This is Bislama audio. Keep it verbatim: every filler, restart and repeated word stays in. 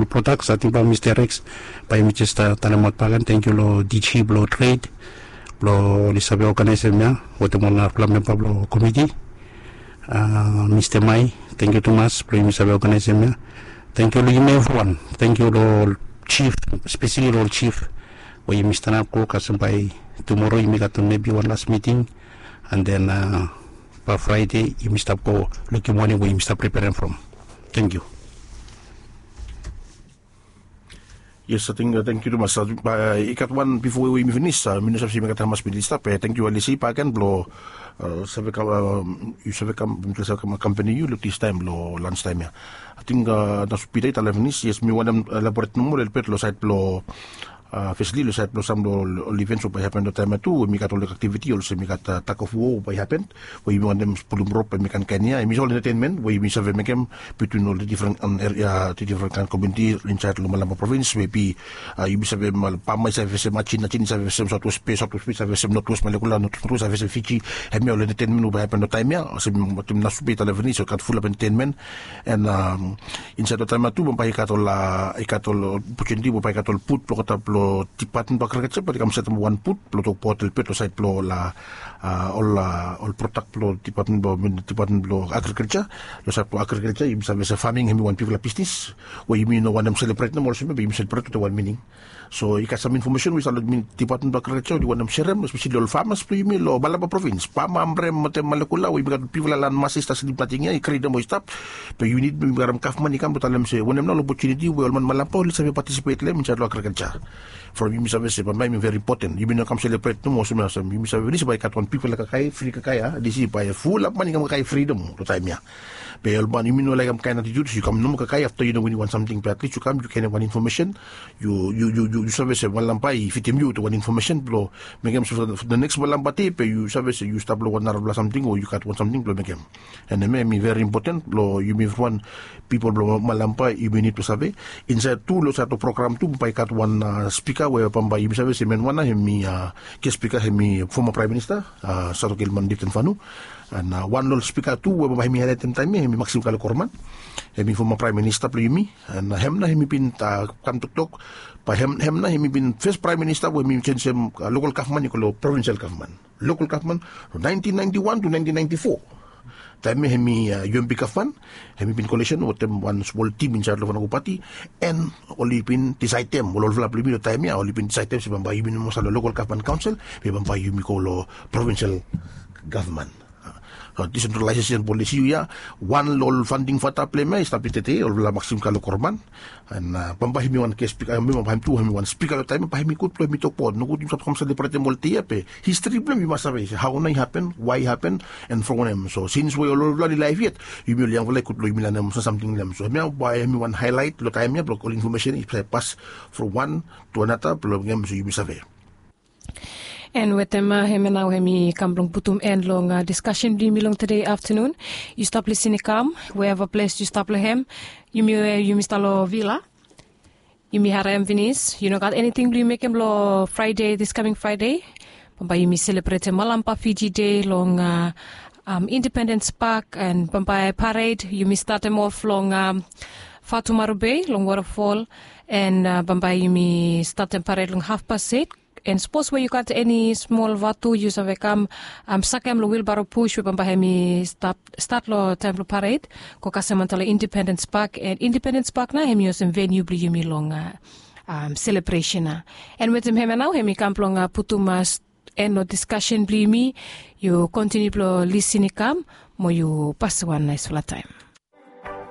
Prodaks, ating bae mista reks, bae yumi jes talemaot baken. Tangkiu long diji blong tred blong oli save oganaesem ya wetem ol narafala memba blong komiti. Mista mai, tangkiu tumas blong yumi save oganaesem ya. Tangkiu long yumi evriwan. Tangkiu long ol jif, speseli long ol jif we yumi stanap go kasem bae tumoro yumi gat mebi wan las miting. An den bae fraede yumi stap go lukim wanem we yumi stap preperem from. Tangkiu. Yes, ating tangkiu tumas. I gat wan bifo we yumi finis, mi no save se yumi gat hamas minit i stap. Tangkiu alisi baken blong save kam, yu save kam, mi save kam akompani yu long distaem long lanstaem ya. Ating na supita i talem finis. Yes, mi wantem elaboret nomo lelebet long saed blong fesli long saed blong sam blong ol ivens we bae i hapen long taem ya tu, we mi gat ol aktiviti olsem mi gat tug of war we bae i hapen, we yumi wantem pulum rop, bae mi kaenkaen ya, yumi ol entetenmen we yumi save mekem bitwin ol difren eria, difren kaen komuniti insaed long Malampa provins, mebi yumi save, Bama i save fesem Ajin, Ajin i save fesem Saotwes Be, Saotwes Be i save fesem Notwes Malekula, Notwes Malekula i save fesem Fiji. Hemia ol entetenmen we bae i hapen long taem ya, olsem wetem Nasupe i talem finis, ol gat fulap entetenmen. An insaed long taem ya tu bambae i gat ol, i gat ol opotuniti we bae i gat ol but blong olgeta blong Dipatmen blong Agrikalja, bae oli kam setem wan but blong tokbaot lelebet long saed blong ol, ol prodak blong Dipatmen blong, Dipatmen blong Agrikalja. Long saed blong agrikalja yumi save se faming hemi wan bigfala bisnis we yumi no wantem selebret nomo olsem ya, be yumi selebret wetem wan mining. So i gat sam infomesen we i stap long Dipatmen blong Agrikalja we oli wantem serem, espeseli ol famas blong yumi long Malampa provins, Bama, Amrem wetem Malekula, we yumi gat bigfala lan masista slip nating ya, i grin nomo i stap. Be yu nid blong yumi karem gavman i kam blong talem se wanem nao ol opotuniti we ol man Malampa oli save patisipet long hem insaed long agrikalja. From yumi save se bambae hemi veri impoten, yumi no kam selebret nomo olsem ya, olsem yumi save finis bae i gat wan bigfala kakae, fri kakae ya, disi bae fulap man i kam kakae fri nomo long taem ya. Be ol man, yumi no laekem kaen atitut se yu kam nomo kakae afta yu no winim wan samting, be atlis yu kam yu kaen wan infomesen. Yu, yu, yu, yu save se Malampa i fidim yu wetem wan infomesen blong mekem se for the next Malampa dei be yu save se yu stap long wan narafala samting o yu gat wan samting blong mekem. An hemia hemi veri impoten blong yumi evriwan, pipol blong Malampa, yumi nid blong save. Insaed tu long saed long program tu bambae i gat wan spika we bambae yumi save se hemia wan nao hemi ges spika hemi foma praem minista, Sadoke Ilman Lifton Fanu. An wan long ol spika tu we bambae hemi haelaetem taem ya hemi Maxim Kalokorman, hemi foma praem minista blong yumi. An hem nao hemi bin kam toktok, bae hem nao hemi bin fes praem minista we hemi jenjem lokal gavman i go long provinsel gavman. Lokal gavman from naentin naenti wan tu naentin naenti fo. Taem ya hemi UMP gavman, hemi bin kolesen wetem wan smol tim insaed long Fanago Pati, an oli bin disaedem, ol olfala blong yumi long taem ya oli bin disaedem se bambae yumi no moa stap long lokal gavman kaonsel, be bambae yumi go long provinsel gavman. Disentralaesesen polisi ya, wan long ol faonting fata blong hem ya i stap yet tede, olfala Maxim Kalokorman. An bambae hemi wan ges spika, hemi bambae hem tu hemi wan spika long taem ya, bae hemi gud blong hemi tokbaot. Nogud yumi stap kam selebretem ol dei ya be histri blong hem yu mas save se hao nao i hapen, wae i hapen, an from wanem. So sins we ol olfala oli laef yet, yumi ol yangfala i gud blong yumi lanem sam samting long hem. So hemia bae hemi wan haelaet long taem ya blong ol infomesen i save pas from wan tu anata blong hem, so yumi save. An wetem hemia nao hemi kam blong putum en long diskasen blong yumi long tede aftanun. Yu stap lisin i kam weeva ples yu stap long hem. Yumi we yumi stap long vila, yumi harem finis, yu no gat eniting blong yu mekem long Fraede, dis kaming Fraede? Bambae yumi selebretem Malampa Fiji Dei long Independens Pak, an bambae pared yumi statem of long Fatu Marubei long wotafol, an bambae yumi statem pared long hafpas eit. An sapos we yu gat eni smol vatu yu save kam sakem long wilbaro pus we bambae hemi stat long taem blong pared, go kasem antap long Independens Pak. An Independens Pak nao hemi olsem veniu blong yumi long selebresen ya. An wetem hemia nao hemi kam blong putum en long diskasen blong yumi. Yu kontiniu blong lisin i kam mo yu pasem wan naesfala taem.